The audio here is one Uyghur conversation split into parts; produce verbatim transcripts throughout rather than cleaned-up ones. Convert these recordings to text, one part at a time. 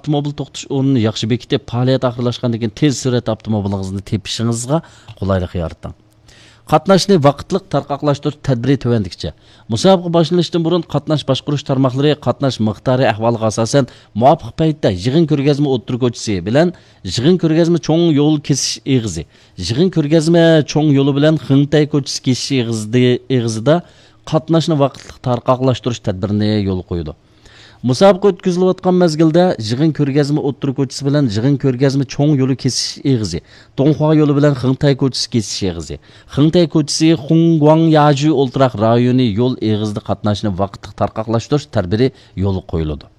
ئاپتوموبىل توختىتىش ئورنىنى ياخشى بېكىتىپ، پائالىيەت ئاخىرلاشقاندىن كېيىن تېز سۈرئەتتە ئاپتوموبىلىڭىزنى تېپىشىڭىزغا قولايلىق يارىتىڭ. قاتناشنى ۋاقىتلىق تارقاقلاشتۇرۇش تەدبىرى تۆۋەندىكىچە. مۇسابىقە باشلىنىشتىن بۇرۇن قاتناش باشقۇرۇش تارماقلىرى قاتناش مىقدارى ئەھۋالىغا ئاساسەن مۇۋاپىق پەيتتە يىغىن كۆرگەزمە ئوتتۇرا كوچىسى بىلەن يىغىن كۆرگەزمە چوڭ يول كېسىش ئېغىزى، يىغىن كۆرگەزمە چوڭ يولى بىلەن خېڭتەي كوچىسى كېسىش ئېغىزىدى-، ئېغىزىدا قاتناشنى ۋاقىتلىق تارقاقلاشتۇرۇش تەدبىرىنى يولغا قويىدۇ. مۇسابىقە ئۆتكۈزۈلۈۋاتقان مەزگىلدە يىغىن كۆرگەزمە ئوتتۇرا كوچىسى بىلەن يىغىن كۆرگەزمە چوڭ يولى كېسىش ئېغىزى، دۇڭخۇا يولى بىلەن خېڭتەي كوچىسى كېسىش ئېغىزى، خېڭتەي كوچىسى خۇڭگۇاڭ ياجۈ ئولتۇراق رايونى يول ئېغىزىدا قاتناشنى ۋاقىتلىق تارقاقلاشتۇرۇش تەدبىرى يولغا قويۇلىدۇ.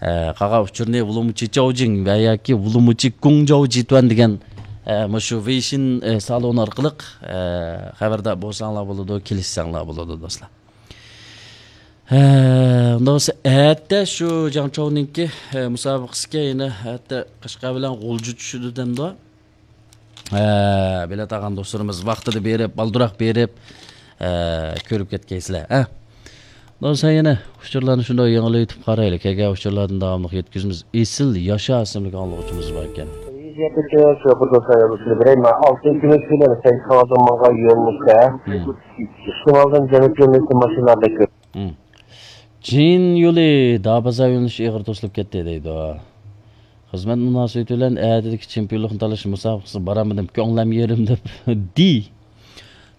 ئە، قالغان ئۇچۇرنى ۋۇلۇمۇچى چاۋجىڭ ۋە ياكى ۋۇلۇمۇچى گۇڭجاۋ جىتۇەن دېگەن، ئە، مۇشۇ ۋېيشىن، ئە، سالونى ئارقىلىق، ئە، خەۋەردار بولساڭلار بولىدۇ، كېلىشسەڭلار بولىدۇ، دوستلار. ھە، ئۇنداق بولسا، ئەتە شۇ جاڭچاۋنىڭكى، ھە، مۇسابىقىسىگە يەنە ئەتە قەشقەر بىلەن غۇلجا چۈشىدۇ دەمدۇ. ھە، بېلەت ئالغان دوستلىرىمىز ۋاقتىدا بېرىپ، بالدۇراق بېرىپ، ھە، كۆرۈپ كەتكەيسىلەر، ھە. ئۇنداق بولسا يەنە ئۇچۇرلارنى شۇنداق يېڭىلىۋېتىپ قارايلى. كەلگەن ئۇچۇرلاردىن داۋاملىق يەتكۈزىمىز. ئېسىل ياشا ئىسىملىك ئاڭلىغۇچىمىز بار ئىكەن. ئالتىنچى كۈنى سىلەر سەيد خاۋازامانغا يۆنىلىشتە. مم. ئىستىمالدىن جەنۇب يۆنىلىشلىك ماشىنىلاردا كۆپ. مم. جىن يولى دابازا يۆنىلىشى ئېغىر توسۇلۇپ كەتتى دەيدۇ. خىزمەت مۇناسىۋىتى بىلەن ئەتىدىكى چېمپىيونلۇقنى تالىشىش مۇسابىقىسىغا بارالمىدىم، كۆڭلۈم يېرىم دەپ. دى.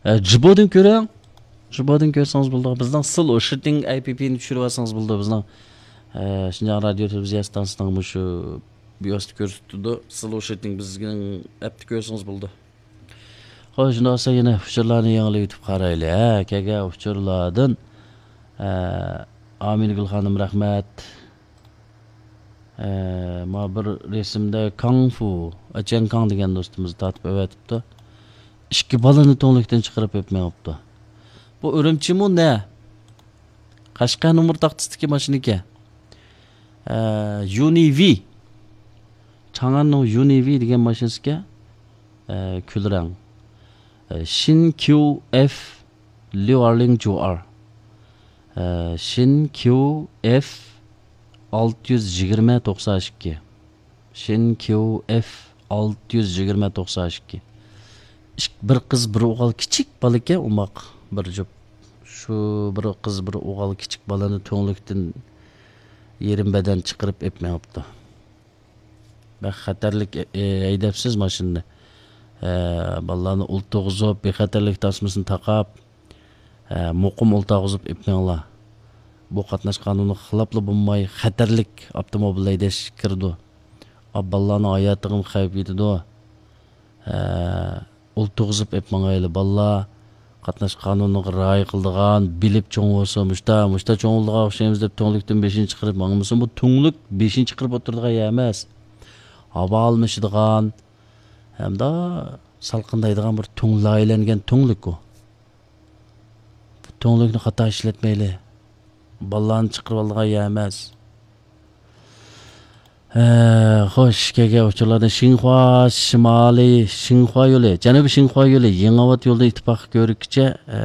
ئە، جىبودىن كۆرۈڭ. جىبودىن كۆرسىڭىز بولىدۇ. بىزنىڭ سلو شىتىڭ ئەي پى پىنى چۈشۈرۈۋالسىڭىز بولىدۇ. بىزنىڭ، ئە، شىنجاڭ رادىيو تېلېۋىزىيە ئىستانسىسىنىڭ مۇشۇ بىيوسىدا كۆرسىتىدۇ. سلو شىتىڭ بىزنىڭ ئەپتە كۆرسىڭىز بولىدۇ. خوش، شۇنداق بولسا يەنە ئۇچۇرلارنى يېڭىلىۋېتىپ قارايلى. ھە، كەلگەن ئۇچۇرلاردىن، ئە، ئامىنگۈل خانىم رەھمەت. ئە، مانا بىر رەسىمدە كاڭ فۇ، ئەچيەن كاڭ دېگەن دوستىمىز تارتىپ ئەۋەتىپتۇ. ئىككى بالىنى تۈڭلۈكتىن چىقىرىپ ئېلىپ مېڭىپتۇ. بۇ ئۈرۈمچىمۇ نە؟ قەشقەر نومۇر تاختىسىدىكى ماشىنىكەن. ئە، يۇنىۋى. چاڭئەننىڭ يۇنىۋى دېگەن ماشىنىسىكەن. ئە، كۈل رەڭ. ئە، شىن كيۇ ئېف ليۇ ئارلىڭ جۇ ئار. ئە، شىن كيۇ ئېف ئالتە يۈز يىگىرمە توقسان ئىككى. شىن كيۇ ئېف ئالتە يۈز يىگىرمە توقسان ئىككى. ئىك-، بىر قىز، بىر ئوغۇل، كىچىك بالىكەن، ئوماق بىر جۈپ. شۇ بىر قىز، بىر ئوغۇل، كىچىك بالىنى تۈڭلۈكتىن يېرىم بەدەن چىقىرىپ ئېلىپ مېڭىپتۇ. بەك خەتەرلىك، ئە، ئە، ھەيدەپسىز ماشىنىنى. ئە، بالىلارنى ئولتۇرغۇزۇپ، بىخەتەرلىك تاسمىسىنى تاقاپ، ئە، مۇقىم ئولتۇرغۇزۇپ ئېلىپ مېڭىڭلار. بۇ قاتناش قانۇنىغا خىلاپلا بولماي، خەتەرلىك ئاپتوموبىل ھەيدەش كىرىدۇ. ئا، بالىلارنىڭ ھاياتىغىمۇ خەۋپ يېتىدۇ. ئە، ئولتۇرغۇزۇپ ئېلىپ ماڭايلى، بالىلار. قاتناش قانۇنىغا رىئايە قىلىدىغان، بىلىپ چوڭ بولسا، مۇشتا، مۇشتا چوڭ بولىدىغان ئوخشايمىز دەپ تۈڭلۈكتىن بېشىنى چىقىرىپ ماڭمىسۇن. بۇ تۈڭلۈك بېشىنى چىقىرىپ ئولتۇرىدىغان يەر ئەمەس. ھاۋا ئالمىشىدىغان ھەمدە سالقىندايدىغان بىر تۈڭ لايىھەلەنگەن تۈڭلۈك ئۇ. تۈڭلۈكنى خاتا ئىشلەتمەيلى. بالىلارنى چىقىرىۋالىدىغان يەر ئەمەس. ھە، خوش، كەلگەن ئۇچۇرلاردا شىنخۇا شىمالىي، شىنخۇا يولى، جەنۇبىي شىنخۇا يولى، يېڭىئاۋات يولىدىن ئىتتىپاق كۆۋرۈككىچە، ھە،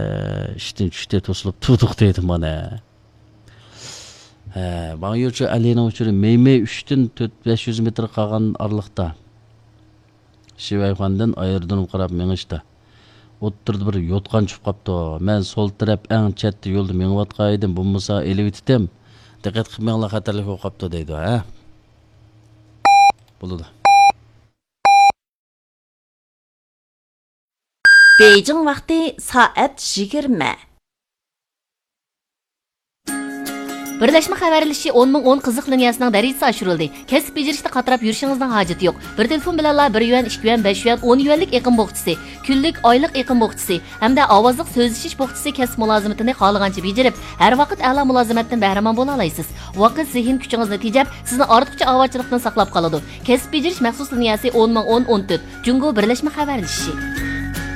ئىشتىن چۈشتى، توسۇلۇپ تۇردۇق دەيدۇ مانا. ھە، ۋاڭ يۇچۇ ئەلىنىڭ ئۇچۇرى مەيمەي ئۈچتىن تۆت، بەش يۈز مېتىر قالغان ئارىلىقتا. شىۋەيخۇەندىن ئايرودرومغا قاراپ مېڭىشتا، ئوتتۇرىدا بىر يوتقان چۈشۈپ قاپتۇ. مەن سول تەرەپ ئەڭ چەتتە يولدا مېڭىۋاتقان ئىدىم، بولمىسا ئېلىۋېتىتتىم. دىققەت قىلىپ مېڭىڭلار، خەتەرلىك بولۇپ قاپتۇ دەيدۇ، ھە؟ بولىدۇ. بېيجىڭ ۋاقتى سائەت يىگىرمە. بىرلەشمە خەۋەرلىشىشى ئون مىڭ ئون قىزىق لىنىيەسىنىڭ دەرىجىسى ئاشۇرۇلدى. كەسىپ بېجىرىشتە قاتراپ يۈرۈشىڭىزنىڭ ھاجىتى يوق. بىر تېلېفون بىلەنلا بىر يۈەن، ئىككى يۈەن، بەش يۈەن، ئون يۈەنلىك ئېقىم بوخچىسى، كۈنلۈك، ئايلىق ئېقىم بوخچىسى ھەمدە ئاۋازلىق سۆزلىشىش بوخچىسى كەسىپ مۇلازىمىتىنى خالىغانچە بېجىرىپ، ھەر ۋاقىت ئەلا مۇلازىمەتتىن بەھرىمەن بولالايسىز. ۋاقىت، زېھىن كۈچىڭىزنى تېجەپ، سىزنى ئارتۇقچە ئاۋارىچىلىقتىن ساقلاپ قالىدۇ. كەسىپ بېجىرىش مەخسۇس لىنىيەسى ئون مىڭ ئون ئون تۆت، جۇڭگو بىرلەشمە خەۋەرلىشىشى.